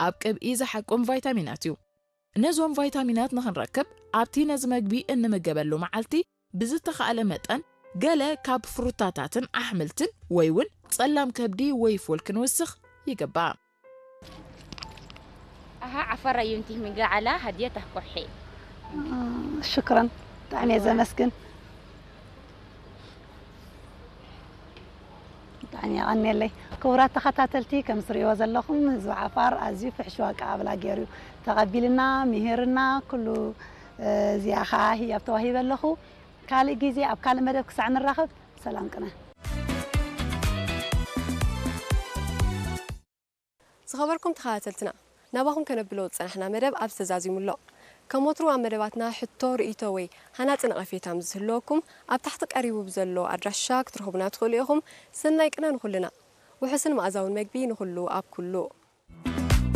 ኣብ ቅብኢ ዝሓቁም ቫይታሚናት እዩ። ነዞም ቫይታሚናት ንኽንረክብ ኣብቲ ነዚ መግቢ እንምገበሉ መዓልቲ ብዝተኻእለ መጠን ገለ ካብ ፍሩታታትን ኣሕምልትን ወይ እውን ጸላም ከብዲ ወይ ፉል ክንውስኽ ይግባእ። ኣሃ ዓፈራ ዩንቲ ምግዓላ ሃድየ ተህኮሐ። ሽክረን ብጣዕሚ እየ ዘመስግን። ብጣዕሚ የቐንየለይ። ክቡራት ተኸታተልቲ፣ ከም ትሪእዎ ዘለኹም ህዝቢ ዓፋር ኣዝዩ ፍሕሹው ኣቀባብላ ገይሩ እዩ ተቐቢልና፣ ምሂርና፣ ኩሉ። እዚኣ ኸዓ ህያብ ተዋሂበ ኣለኹ። ካልእ ግዜ ኣብ ካልእ መደብ ክሳዕ ንራኸብ ሰላም ቅነ። ዝኸበርኩም ተኸታተልትና፣ ናባኹም ከነብሎ ዝጸናሕና መደብ ኣብዚ ተዛዚሙ ኣሎ። ከም ወትሩ ኣብ መደባትና ሕቶ፣ ርእይቶ ወይ ሃናጺ ነቐፌታ ምስ ዝህልወኩም ኣብ ታሕቲ ቀሪቡ ብዘሎ ኣድራሻ ክትረኽቡና ትኽእሉ ኢኹም። ሰናይ ቅነ ንኹልና። ውሑስን መኣዛውን መግቢ ንኹሉ ኣብ ኩሉ።